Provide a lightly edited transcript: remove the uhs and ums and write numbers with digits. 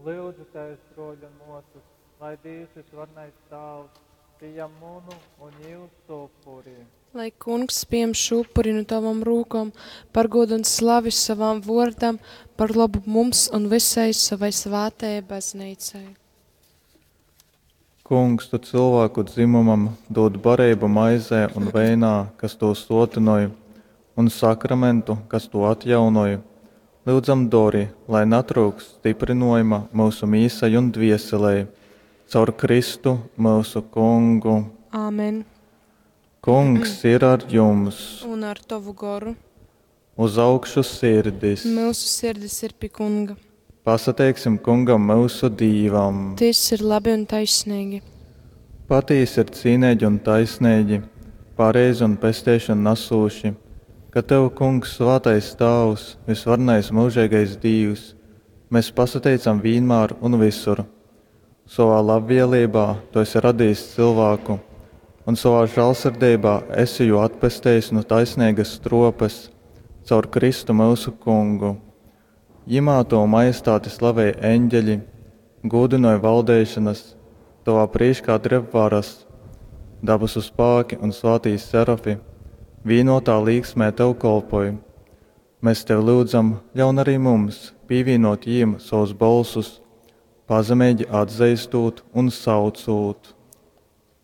Lyudzu tevis, brōļi un mōsas, lai Dīvs vysvarenais Tāvs pījam munu un jūsu upuri. Lai kungs pieņem šo upuri no tavam rūkom par godu un slavi savam vōrdam, par labu mums un visai savai svātajai baznīcai. Kungs, tu cilvēku dzimumam dūd bareibu maizē un veinā, kas tū sōtynoj, un sakramentu, kas tū atjaunoj, lyudzam dori, lai natryukst styprynōjuma myusu mīsai un dvieselei. Caur Kristu, myusu Kungu. Āmen. Kungs ir ar jums. Un ar tavu goru. Uz augšu sirdis. Mūsu sirdis ir pie kunga. Pasateiksim Kungam myusu Dīvam. Tas ir labi un taisnīgi. Patīsi ir cīneigi un taisneigi, pareizi un pesteišonu nasūši, ka Tev, Kungs, svātais Tāvs, vysvarenais myužeigais Dīvs, mēs pasateicam vīnmār un visur. Savā labvēlībā Tu esi radījis cilvēku, un savā žālsirdībā esi jū atpestejis no taisnīgas stropes caur Kristu mūsu Kungu. Jimā Tavu majestāti slavej eņģeļi, gūdinoj valdeišanas, Tavā prīškā dreb varas, dabasu spāki un svātī serafi, vīnotā līksmē Tev kolpoj. Mēs Tev lūdzam, ļaun arī mums pīvīnot jīm savus bolsus, pazemeigi atzeistot un saucūt.